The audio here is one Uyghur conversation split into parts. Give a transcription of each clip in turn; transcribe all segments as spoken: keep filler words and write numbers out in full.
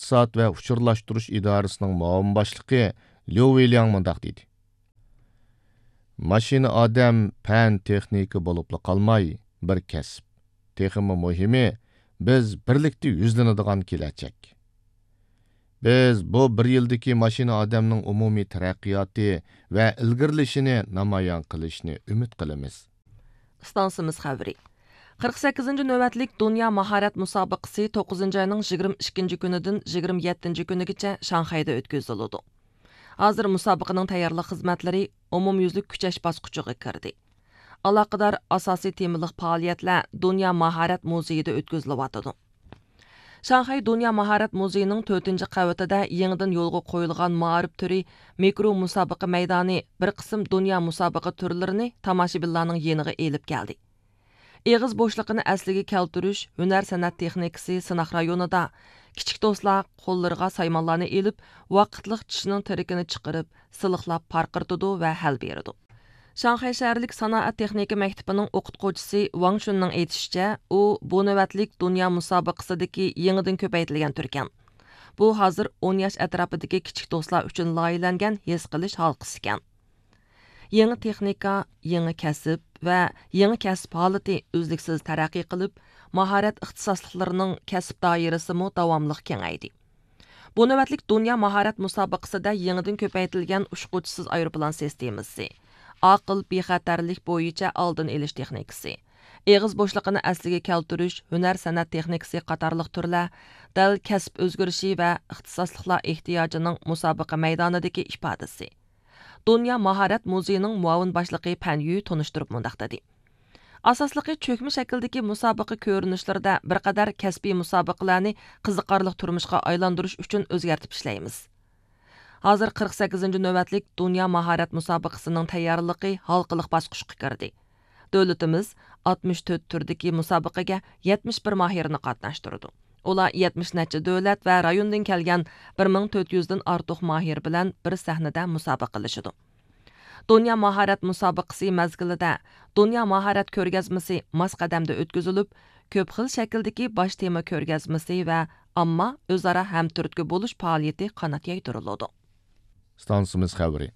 ئىقتىساد ۋە ئۇچۇرلاشتۇرۇش ئىدارىسىنىڭ مۇئاۋىن باشلىقى ليۇ ۋېلياڭ مۇنداق دېدى: ماشىنا ئادەم پەن تېخنىكا بولۇپلا قالماي، بىر كەسىپ. تېخىمۇ مۇھىمى، بىز بىرلىكتە يۈزلىنىدىغان كېلەچەك. بىز بۇ بىر يىلدىكى ماشىنا ئادەمنىڭ ئومۇمىي تەرەققىياتى ۋە ئىلگىرىلىشىنى نامايان قىلىشنى ئۈمىد قىلىمىز. ئىستانسىمىز خەۋىرى. قىرىق سەككىزىنچى نۆۋەتلىك دۇنيا ماھارەت مۇسابىقىسى توققۇزىنچى ئاينىڭ يىگىرمە ئىككىنچى كۈنىدىن يىگىرمە يەتتىنچى كۈنىگىچە شاڭخەيدە ئۆتكۈزۈلىدۇ. ھازىر مۇسابىقىنىڭ تەييارلىق خىزمەتلىرى ئومۇميۈزلۈك كۈچەش باسقۇچىغا كىردى. ئالاقىدار ئاساسىي تېمىلىق پائالىيەتلەر دۇنيا ماھارەت مۇزېيىدا ئۆتكۈزۈلۈۋاتىدۇ. شاڭخەي دۇنيا ماھارەت مۇزېيىنىڭ تۆتىنچى قەۋىتىدە يېڭىدىن يولغا قويۇلغان مائارىپ تۈرى مىكرو مۇسابىقە مەيدانى بىر قىسىم دۇنيا مۇسابىقە تۈرلىرىنى تاماشىبىنلارنىڭ يېنىغا ئېلىپ كەلدى. ئېغىز بوشلۇقىنى ئەسلىگە كەلتۈرۈش ھۈنەر سەنئەت تېخنىكىسى سىناق رايونىدا كىچىك دوستلار قوللىرىغا سايمانلارنى ئېلىپ، ۋاقىتلىق چىشنىڭ تىرىكىنى چىقىرىپ، سىلىقلاپ پارقىرىتىدۇ ۋە ھەل بېرىدۇ. شاڭخەي شەھەرلىك سانائەت تېخنىكا مەكتىپىنىڭ ئوقۇتقۇچىسى ۋاڭ شۈننىڭ ئېيتىشىچە، ئۇ بۇ نۆۋەتلىك دۇنيا مۇسابىقىسىدىكى يېڭىدىن كۆپەيتىلگەن تۈركەن. بۇ ھازىر ئون ياش ئەتراپىدىكى كىچىك دوستلار ئۈچۈن لايىھەلەنگەن ھېس قىلىش ھالقىسىكەن. يېڭى تېخنىكا، يېڭى كەسىپ ۋە يېڭى كەسىپ ھالىتى ئۈزلۈكسىز تەرەققىي قىلىپ، ماھارەت ئىختىساسلىقلىرىنىڭ كەسىپ دائىرىسىمۇ داۋاملىق كېڭەيدى. بۇ نۆۋەتلىك دۇنيا ماھارەت مۇسابىقىسىدە يېڭىدىن كۆپەيتىلگەن ئۇچقۇچىسىز ئايروپىلان سىستېمىسى، ئاقىل بىخەتەرلىك بويىچە ئالدىنى ئېلىش تېخنىكىسى، ئېغىز بوشلۇقىنى ئەسلىگە كەلتۈرۈش ھۈنەر سەنئەت تېخنىكىسى قاتارلىق تۈرلەر دەل كەسىپ ئۆزگىرىشى ۋە ئىختىساسلىقلار ئېھتىياجىنىڭ مۇسابىقە مەيدانىدىكى ئىپادىسى. دۇنيا ماھارەت مۇزېيىنىڭ مۇئاۋىن باشلىقى پەن يۈ تونۇشتۇرۇپ مۇنداق دېدى: ئاساسلىقى چۆكمە شەكىلدىكى مۇسابىقە كۆرۈنۈشلىرىدە بىر قەدەر كەسپىي مۇسابىقىلەرنى قىزىقارلىق تۇرمۇشقا ئايلاندۇرۇش ئۈچۈن ئۆزگەرتىپ ئىشلەيمىز. ھازىر قىرىق سەككىزىنچى نۆۋەتلىك دۇنيا ماھارەت مۇسابىقىسىنىڭ تەييارلىقى ھالقىلىق باسقۇچقا كىردى. دۆلىتىمىز ئاتمىش تۆت تۈردىكى مۇسابىقىگە يەتمىش بىر ماھىرنى قاتناشتۇرىدۇ. ئۇلار يەتمىش نەچچە دۆلەت ۋە رايوندىن كەلگەن بىر مىڭ تۆت يۈزدىن ئارتۇق ماھىر بىلەن بىر سەھنىدە مۇسابىقىلىشىدۇ. دۇنيا ماھارەت مۇسابىقىسى مەزگىلىدە دۇنيا ماھارەت كۆرگەزمىسى ماس قەدەمدە ئۆتكۈزۈلۈپ، كۆپ خىل شەكىلدىكى باش تېما كۆرگەزمىسى ۋە ئامما ئۆزئارا ھەمتۈرتكە بولۇش پائالىيىتى قانات يايدۇرۇلىدۇ. ئىستانسىمىز خەۋىرى.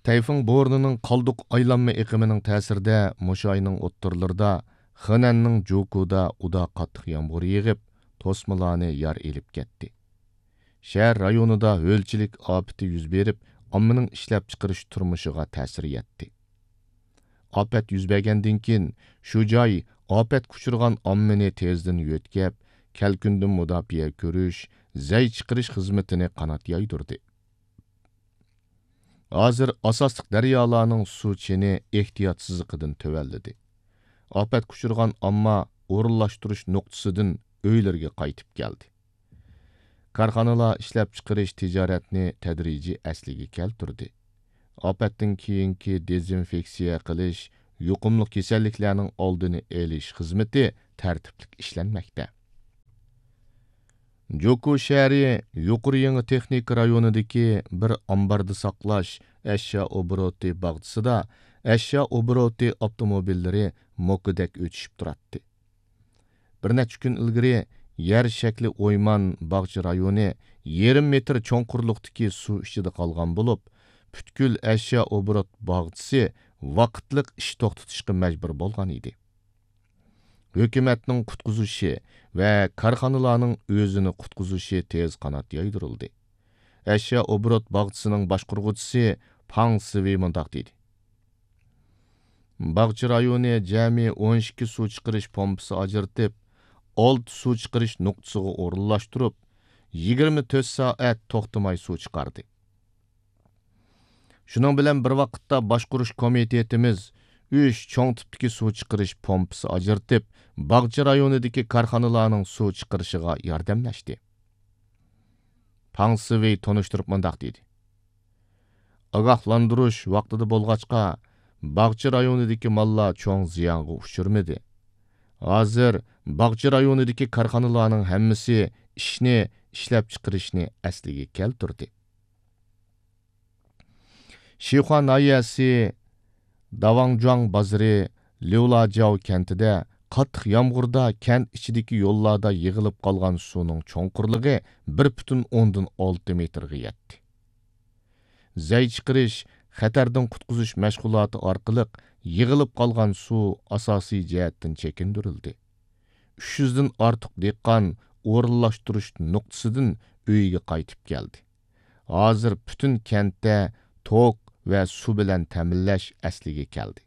تەيفۇڭ بورىنىنىڭ قالدۇق ئايلانما ئېقىمىنىڭ تەسىرىدە مۇشۇ ئاينىڭ ئوتتۇرىلىرىدا خېنەننىڭ جوكۇدا ئۇدا قاتتىق يامغۇر يېغىپ، توسمىلارنى يار ئېلىپ كەتتى. شەھەر رايونىدا ھۆلچىلىك ئاپىتى يۈز بېرىپ، ئاممىنىڭ ئىشلەپچىقىرىش تۇرمۇشىغا تەسىر يەتتى. ئاپەت يۈز بەرگەندىن كېيىن، شۇ جاي ئاپەتكە ئۇچرىغان ئاممىنى تېزدىن يۆتكەپ، كەلكۈندىن مۇداپىئە كۆرۈش، زەي چىقىرىش خىزمىتىنى قانات يايدۇردى. ھازىر ئاساسلىق دەريالارنىڭ سۇ چېنى ئېھتىياتسىزلىقىدىن تۆۋەنلىدى. ئاپەتكە ئۇچرىغان ئامما ئورۇنلاشتۇرۇش نۇقتىسىدىن ئۆيلىرىگە قايتىپ كەلدى. كارخانىلار ئىشلەپچىقىرىش تىجارەتنى تەدرىجىي ئەسلىگە كەلتۈردى. ئاپەتتىن كېيىنكى دېزىنفېكسىيە قىلىش، يۇقۇملۇق كېسەللىكلەرنىڭ ئالدىنى ئېلىش خىزمىتى تەرتىپلىك ئىشلەنمەكتە. جوكۇ شەھىرى يۇقىرى يېڭى تېخنىكا رايونىدىكى بىر ئامباردا ساقلاش ئەشيا ئوبوروتى باغچىسىدا ئەشيا ئوبوروتى ئاپتوموبىللىرى موكىدەك ئۆتۈشۈپ تۇراتتى. بىر نەچچە كۈن ئىلگىرى يەر شەكلى ئويمان باغچە رايونى يېرىم مېتىر چوڭقۇرلۇقتىكى سۇ ئىچىدە قالغان بولۇپ، پۈتكۈل ئەشيا ئوبوروت باغچىسى ۋاقىتلىق ئىش توختىتىشقا مەجبۇر بولغان ئىدى. ھۆكۈمەتنىڭ قۇتقۇزۇشى ۋە كارخانىلارنىڭ ئۆزىنى قۇتقۇزۇشى تېز قانات يايدۇرۇلدى. ئەشيا ئوبوروت باغچىسىنىڭ باشقۇرغۇچىسى پاڭ سىۋېي مۇنداق دېدى: باغچە رايونى جەمئىي ئون ئىككى سۇ چىقىرىش پومپىسى ئاجرىتىپ، ئالتە سۇ چىقىرىش نۇقتىسىغا ئورۇنلاشتۇرۇپ، يىگىرمە تۆت سائەت توختىماي سۇ چىقاردى. شۇنىڭ بىلەن بىر ۋاقىتتا، باشقۇرۇش كومىتېتىمىز ئۈچ چوڭ تىپتىكى سۇ چىقىرىش پومپىسى ئاجرىتىپ، باغچە رايونىدىكى كارخانىلارنىڭ سۇ چىقىرىشىغا ياردەملەشتى. پاڭ سىۋېي تونۇشتۇرۇپ مۇنداق دېدى: ئاگاھلاندۇرۇش ۋاقتىدا بولغاچقا، باغچە رايونىدىكى ماللار چوڭ زىيانغا ئۇچرىمىدى. ھازىر باغچە رايونىدىكى كارخانىلارنىڭ ھەممىسى ئىشنى، ئىشلەپچىقىرىشنى ئەسلىگە كەلتۈردى. شىخۇا ناھىيەسى داۋاڭجۇاڭ بازىرى ليۇلاجياۋ كەنتىدە قاتتىق يامغۇردا كەنت ئىچىدىكى يوللاردا يىغىلىپ قالغان سۇنىڭ چوڭقۇرلۇقى بىر پۈتۈن ئوندىن ئالتە مېتىرغا يەتتى. زەي چىقىرىش، خەتەردىن قۇتقۇزۇش مەشغۇلاتى ئارقىلىق يىغىلىپ قالغان سۇ ئاساسىي جەھەتتىن چېكىندۈرۈلدى. ئۈچ يۈزدىن ئارتۇق دېھقان ئورۇنلاشتۇرۇش نۇقتىسىدىن ئۆيىگە قايتىپ كەلدى. ھازىر پۈتۈن كەنتتە توك ۋە سۇ بىلەن تەمىنلەش ئەسلىگە كەلدى.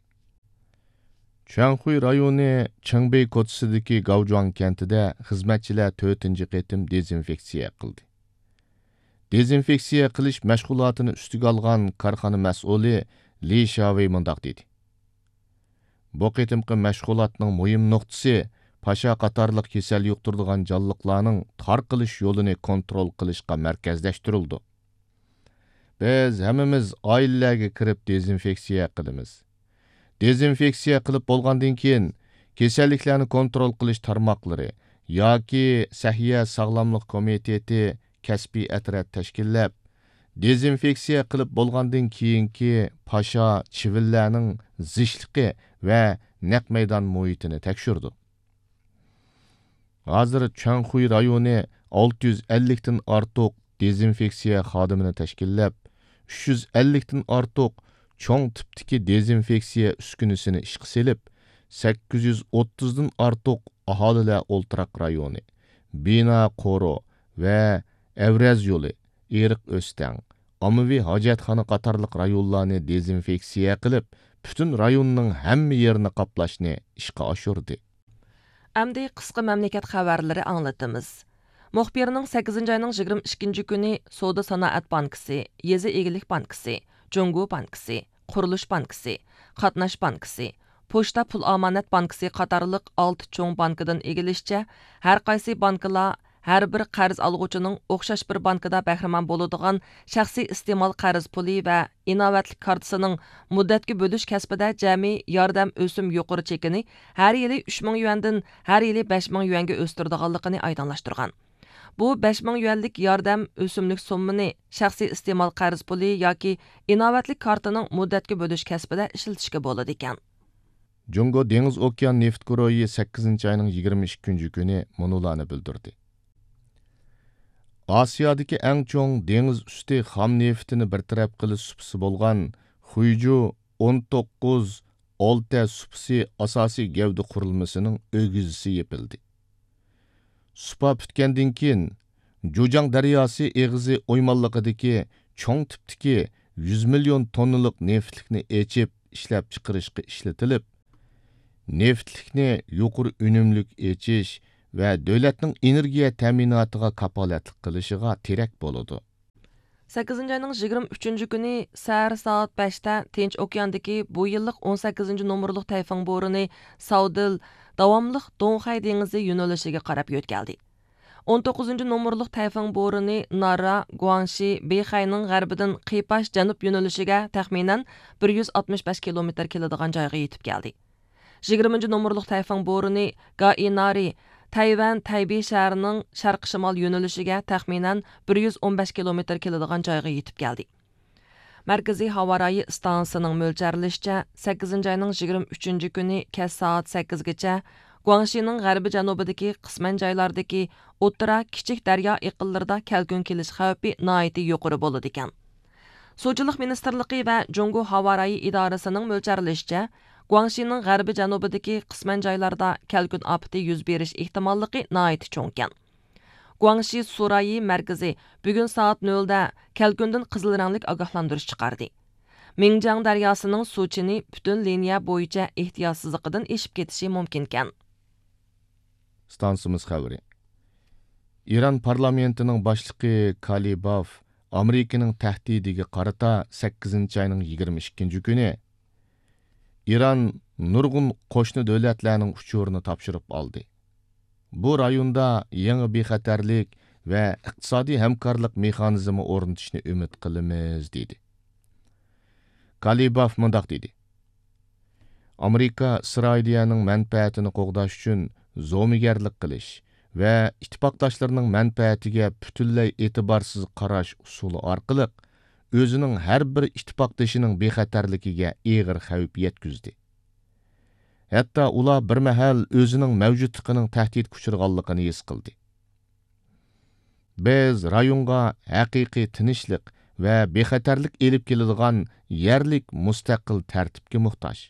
چۈەنخۇي رايونى چېڭبېي كوچىسىدىكى گاۋجۇاڭ كەنتىدە خىزمەتچىلەر تۆتىنچى قېتىم دېزىنفېكسىيە قىلدى. دېزىنفېكسىيە قىلىش مەشغۇلاتىنى ئۈستىگە ئالغان كارخانا مەسئۇلى لى شاۋېي مۇنداق دېدى: بۇ قېتىمقى مەشغۇلاتنىڭ مۇھىم نۇقتىسى پاشا قاتارلىق كېسەل يۇقتۇرىدىغان جانلىقلارنىڭ تارقىلىش يولىنى كونترول قىلىشقا مەركەزلەشتۈرۈلىدۇ. بىز ھەممىمىز ئائىلىلەرگە كىرىپ دېزىنفېكسىيە قىلىمىز. دېزىنفېكسىيە قىلىپ بولغاندىن كېيىن، كېسەللىكلەرنى كونترول قىلىش تارماقلىرى ياكى سەھىيە ساغلاملىق كومىتېتى كەسپىي ئەترەت تەشكىللەپ، دېزىنفېكسىيە قىلىپ بولغاندىن كېيىنكى پاشا، چىۋىنلەرنىڭ زىچلىقى ۋە نەق مەيدان مۇھىتىنى تەكشۈرىدۇ. ھازىر چۈەنخۇي رايونى ئالتە يۈز ئەللىكتىن ئارتۇق دېزىنفېكسىيە خادىمىنى تەشكىللەپ، ئۈچ يۈز ئەللىكتىن ئارتۇق چوڭ تىپتىكى دېزىنفېكسىيە ئۈسكۈنىسىنى ئىشقا سېلىپ، سەككىز يۈز ئوتتۇزدىن ئارتۇق ئاھالىلەر ئولتۇراق رايونى، بىنا قورۇ ۋە ئەۋرەز يولى، ئېرىق ئۆستەڭ، ئاممىۋى ھاجەتخانا قاتارلىق رايونلارنى دېزىنفېكسىيە قىلىپ، پۈتۈن رايوننىڭ ھەممە يېرىنى قاپلاشنى ئىشقا ئاشۇردى. ئەمدى قىسقا مەملىكەت خەۋەرلىرى ئاڭلىتىمىز. مۇخبىرنىڭ سەككىزىنچى ئاينىڭ يىگىرمە ئىككىنچى كۈنى سودا سانائەت بانكىسى، يېزا ئىگىلىك بانكىسى، جۇڭگو بانكىسى، قۇرۇلۇش بانكىسى، قاتناش بانكىسى، پوچتا پۇل ئامانەت بانكىسى قاتارلىق ئالتە چوڭ بانكىدىن ئىگىلىشىچە، ھەر قايسى بانكىلار ھەر بىر قەرز ئالغۇچىنىڭ ئوخشاش بىر بانكىدا بەھرىمەن بولىدىغان شەخسىي ئىستېمال قەرز پۇلى ۋە ئىناۋەتلىك كارتىسىنىڭ مۇددەتكە بۆلۈش كەسپىدە جەمئىي ياردەم ئۆسۈم يۇقىرى چېكىنى ھەر يىلى ئۈچ مىڭ يۈەندىن ھەر يىلى بەش مىڭ يۈەنگە ئۆستۈرىدىغانلىقىنى ئايدىڭلاشتۇرغان. بۇ بەش مىڭ يۈەنلىك ياردەم ئۆسۈملۈك سوممىنى شەخسىي ئىستېمال قەرز پۇلى ياكى ئىناۋەتلىك كارتىنىڭ مۇددەتكە بۆلۈش كەسپىدە ئىشلىتىشكە بولىدىكەن. جۇڭگو دېڭىز ئوكيان نېفىت گۇرۇھى سەككىزىنچى ئاينىڭ يىگىرمە ئىككىنچى كۈنى مۇنۇلارنى بىلدۈردى. ئاسىيادىكى ئەڭ چوڭ دېڭىز ئۈستى خام نېفىتىنى بىر تەرەپ قىلىش سۇپىسى بولغان خۇيجۇ ئون توققۇز ئالتە سۇپىسى ئاساسىي گەۋدە قۇرۇلمىسىنىڭ ئۆگزىسى يېپىلدى. سۇپا پۈتكەندىن كېيىن، جۇجاڭ دەرياسى ئېغىزى ئويمانلىقىدىكى چوڭ تىپتىكى يۈز مىليون توننىلىق نېفىتلىكنى ئېچىپ ئىشلەپچىقىرىشقا ئىشلىتىلىپ، نېفىتلىكنى يۇقىرى ئۈنۈملۈك ئېچىش ۋە دۆلەتنىڭ ئېنېرگىيە تەمىناتىغا كاپالەتلىك قىلىشىغا تىرەك بولىدۇ. سەككىزىنچى ئاينىڭ يىگىرمە ئۈچىنچى كۈنى سەھەر سائەت بەشتە تىنچ ئوكياندىكى بۇ يىللىق ئون سەككىزىنچى نومۇرلۇق تەيفۇڭ بورىنى ساۋدىل داۋاملىق دۇڭخەي دېڭىزى يۆنىلىشىگە قاراپ يۆتكەلدى. ئون توققۇزىنچى نومۇرلۇق تەيفۇڭ بورىنى نارا، گۇاڭشى، بېيخەينىڭ غەربىدىن قىيپاش جەنۇب يۆنىلىشىگە تەخمىنەن بىر يۈز ئاتمىش بەش كىلومېتىر كېلىدىغان جايغا يېتىپ كەلدى. يىگىرمىنچى نومۇرلۇق تەيفۇڭ بورىنى گائىنارى، تەيۋەن تەيبېي شەھىرىنىڭ شەرقىي شىمال يۆنىلىشىگە تەخمىنەن بىر يۈز ئون بەش كىلومېتىر كېلىدىغان جايغا يېتىپ كەلدى. مەركىزىي ھاۋا رايى ئىستانسىسىنىڭ مۆلچەرلىشىچە، سەككىزىنچى ئاينىڭ يىگىرمە ئۈچىنچى كۈنى كەچ سائەت سەككىزگىچە گۇاڭشىنىڭ غەربىي جەنۇبىدىكى قىسمەن جايلاردىكى ئوتتۇرا كىچىك دەريا ئېقىنلىرىدا كەلكۈن كېلىش خەۋپى ناھايىتى يۇقىرى بولىدىكەن. سۇچىلىق مىنىستىرلىقى ۋە جۇڭگو ھاۋا رايى ئىدارىسىنىڭ مۆلچەرلىشىچە، گۇاڭشىنىڭ غەربىي جەنۇبىدىكى قىسمەن جايلاردا كەلكۈن ئاپىتى يۈز بېرىش ئېھتىماللىقى ناھايىتى چوڭكەن. گۇاڭشى سۇ رايى مەركىزى بۈگۈن سائەت نۆلدە كەلكۈندىن قىزىل رەڭلىك ئاگاھلاندۇرۇش چىقاردى. مىڭجياڭ دەرياسىنىڭ سۇ چېنى پۈتۈن لىنىيە بويىچە ئېھتىياتسىزلىقىدىن ئېشىپ كېتىشى مۇمكىنكەن. ئىستانسىمىز خەۋىرى. ئىران پارلامېنتىنىڭ باشلىقى كالىباف ئامېرىكىنىڭ تەھدىتىگە قارىتا سەككىزىنچى ئاينىڭ يىگىرمە ئىككىنچى كۈنى ئىران نۇرغۇن قوشنا دۆلەتلەرنىڭ ئۇچۇرىنى تاپشۇرۇپ ئالدى. بۇ رايوندا يېڭى بىخەتەرلىك ۋە ئىقتىسادىي ھەمكارلىق مېخانىزمى ئورنىتىشنى ئۈمىد قىلىمىز، دېدى. كالىباف مۇنداق دېدى: ئامېرىكا ئىسرائىلىيەنىڭ مەنپەئەتىنى قوغداش ئۈچۈن زومىگەرلىك قىلىش ۋە ئىتتىپاقداشلىرىنىڭ مەنپەئەتىگە پۈتۈنلەي ئېتىبارسىز قاراش ئۇسۇلى ئارقىلىق ئۆزىنىڭ ھەر بىر ئىتتىپاقدىشىنىڭ بىخەتەرلىكىگە ئېغىر خەۋپ يەتكۈزدى. ھەتتا ئۇلار بىر مەھەل ئۆزىنىڭ مەۋجۇتلۇقىنىڭ تەھدىتكە ئۇچرىغانلىقىنى ھېس قىلدى. بىز رايونغا ھەقىقىي تىنچلىق ۋە بىخەتەرلىك ئېلىپ كېلىدىغان يەرلىك مۇستەقىل تەرتىپكە موھتاج.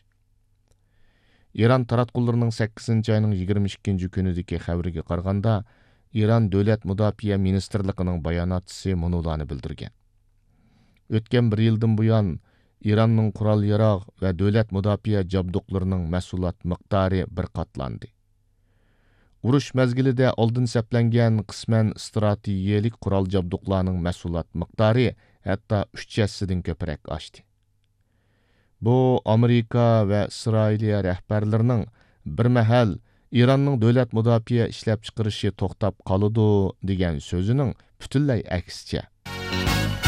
ئىران تاراتقۇلىرىنىڭ سەككىزىنچى ئاينىڭ يىگىرمە ئىككىنچى كۈنىدىكى خەۋىرىگە قارىغاندا، ئىران دۆلەت مۇداپىئە مىنىستىرلىقىنىڭ باياناتچىسى مۇنۇلارنى بىلدۈرگەن: ئۆتكەن بىر يىلدىن بۇيان، ئىراننىڭ قورال-ياراغ ۋە دۆلەت مۇداپىئە جابدۇقلىرىنىڭ مەھسۇلات مىقدارى بىر قاتلاندى. ئۇرۇش مەزگىلىدە ئالدىن سەپلەنگەن قىسمەن ئىستراتېگىيەلىك قورال جابدۇقلارنىڭ مەھسۇلات مىقدارى ھەتتا ئۈچ ھەسسىدىن كۆپرەك ئاشتى. بۇ ئامېرىكا ۋە ئىسرائىلىيە رەھبەرلىرىنىڭ بىر مەھەل ئىراننىڭ دۆلەت مۇداپىئە ئىشلەپچىقىرىشى توختاپ قالىدۇ دېگەن سۆزىنىڭ پۈتۈنلەي ئەكسىچە.